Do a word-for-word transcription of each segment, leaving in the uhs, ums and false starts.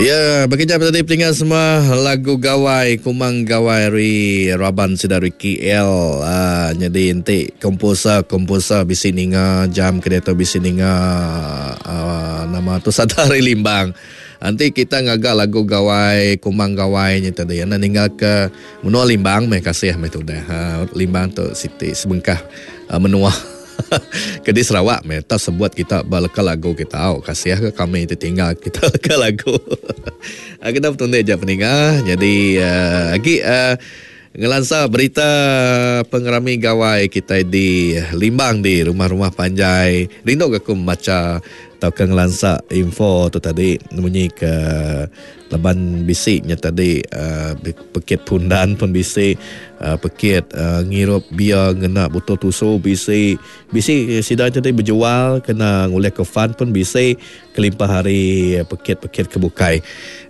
Ya, bekerja tadi peninga semua lagu Gawai Kumang Gawai ri Raban Sida Ricky L. Ah, jadi enti komposer komposer bisi ninga jam ke bisi ninga uh, nama tu Sadari Limbang. Nanti kita ngagak lagu Gawai Kumang Gawai ni tadi. Anda ninggal ke menua Limbang meh kasih meh tu dah. Ha, Limbang tu siti sebengkah uh, menua ke di Sarawak meh tak sebut kita balaka lagu kita au kasih ke kami tertinggal kita ke lagu. Kita bertunda je peninga. Jadi uh, lagi uh, ngelansa berita pengerami gawai kita di Limbang di rumah-rumah panjai. Rindu ke aku membaca atau ke ngelansa info tu tadi bunyi ke laban bisiknya tadi uh, pekit pundan pun bisik uh, pekit uh, ngirup bia ngena botol tusu bisik bisik sida tadi berjual kena ngulih ke fun pun bisik kelimpah hari pekit-pekit kebukai.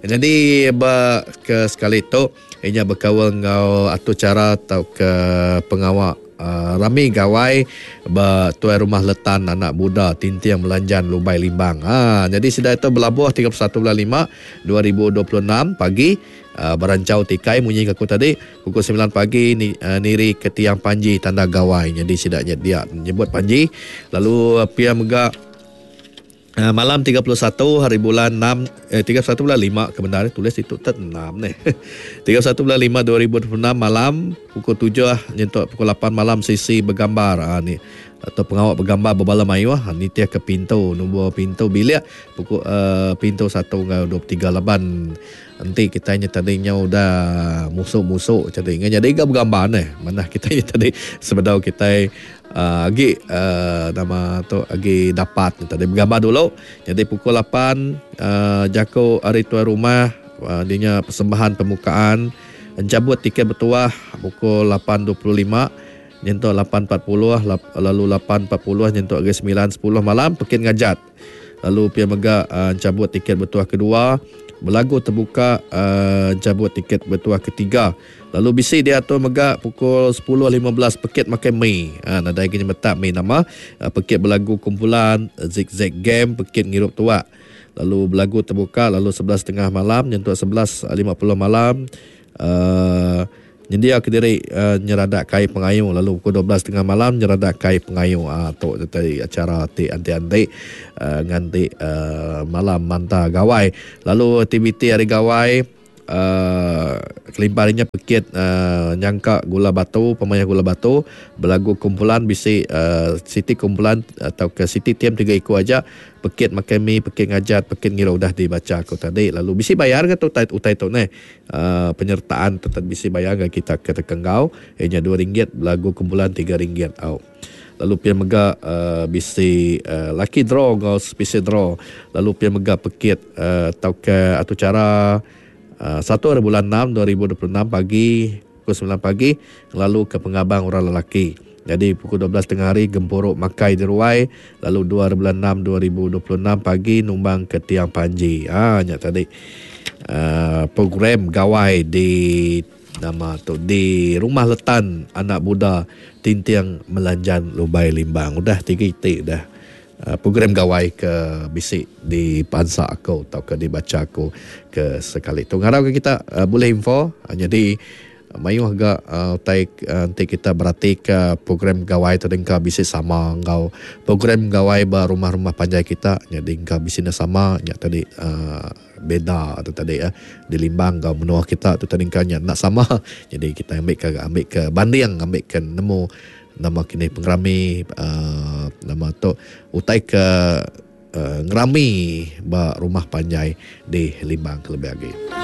Jadi ba ke sekali tu inya berkawal ngau atau cara atau ke pengawak Uh, rami gawai ba tuai rumah Letan Anak Buddha Tintiang Melanjan Lubai Limbang. Ha, jadi sida itu berlabuh tiga puluh satu bulan lima dua ribu dua puluh enam pagi uh, berancau tikai munyi aku tadi pukul sembilan pagi ni, uh, niri ke tiang panji tanda gawai. Jadi sidaknya dia nyebut panji lalu uh, pia mega Uh, malam tiga puluh satu hari bulan enam eh tiga puluh satu bulan lima kebenaran tulis itu tet enam ni. tiga puluh satu bulan lima dua ribu dua puluh enam malam pukul tujuh nyentuk pukul lapan malam sisi bergambar ha, ni atau pengawak bergambar berbala mayuh ha, ni tiap ke pintu nombor pintu bilik pukul uh, pintu satu dengan dua puluh tiga laban nanti kita nya tadinya udah musuk-musuk jadi jadi gak bergambar ni mana kita nya tadi sebedau kita Uh, agi uh, nama tu agi dapat tadi bergambar dulu. Jadi pukul lapan uh, jako hari tuan rumah uh, dinya persembahan pembukaan cabut tiket bertuah pukul lapan dua puluh lima nyentuk lapan empat puluh lalu lapan empat puluh nyentuk ke sembilan sepuluh malam pekit ngajat. Lalu pia mega uh, cabut tiket bertuah kedua berlagu terbuka uh, cabut tiket bertuah ketiga. Lalu bisi dia tu mega pukul sepuluh lima belas pekit makan mi. Ha, nadai kena metak mi nama. Ha, pekit berlagu kumpulan zigzag game pekit ngirup tuak. Lalu berlagu terbuka lalu sebelas tiga puluh malam nyentuk sebelas lima puluh malam uh, nyendia ke diri uh, nyeradak kai pengayu lalu pukul dua belas tiga puluh malam nyeradak kai pengayu. Ah ha, tu tadi acara ti anti-anti uh, nganti uh, malam manta gawai. Lalu aktiviti hari gawai Uh, kelimpahnya pekit uh, nyangka gula batu pemain gula batu berlagu kumpulan bisi uh, siti kumpulan atau ke siti tiam tiga ekor aja pekit makan mi pekit ngajat pekit ngira udah dibaca aku tadi lalu bisi bayar ke tu utai, utai tu ne uh, penyertaan tetap bisi bayar ke kita ke tekenggau ianya dua ringgit berlagu kumpulan tiga ringgit au. Lalu pia mega uh, bisi uh, lucky draw ngau special draw lalu pia mega pekit uh, atau ke atau cara Uh, satu hari bulan enam dua ribu dua puluh enam pagi pukul sembilan pagi lalu ke pengabang orang lelaki. Jadi pukul dua belas tengah hari gempuruk makai di ruai lalu dua hari bulan enam dua ribu dua puluh enam pagi numbang ke tiang panji. Ah ha, tadi uh, program gawai di nama tu di Rumah Letan Anak Buddha Tintiang Melanjan Lubai Limbang. Udah tiga itik dah. Uh, program gawai ke bisik di pansa aku atau ke dibaca aku ke sekali tu. Ngarap ke kita uh, boleh info. Uh, jadi mayuh agak uh, tai uh, nanti kita berarti ke program gawai tu dengka bisik sama ngau program gawai ba rumah-rumah panjai kita. Jadi engkau bisik sama nya tadi uh, beda tu tadi ya. Di Limbang ngau menua kita tu tadi engkau nya nak sama. Jadi kita ambil ke ambil ke banding ambil ke nemu nama kini pengerami uh, nama tu utai ke uh, ngerami ba rumah panjai di Limbang kelebih lagi.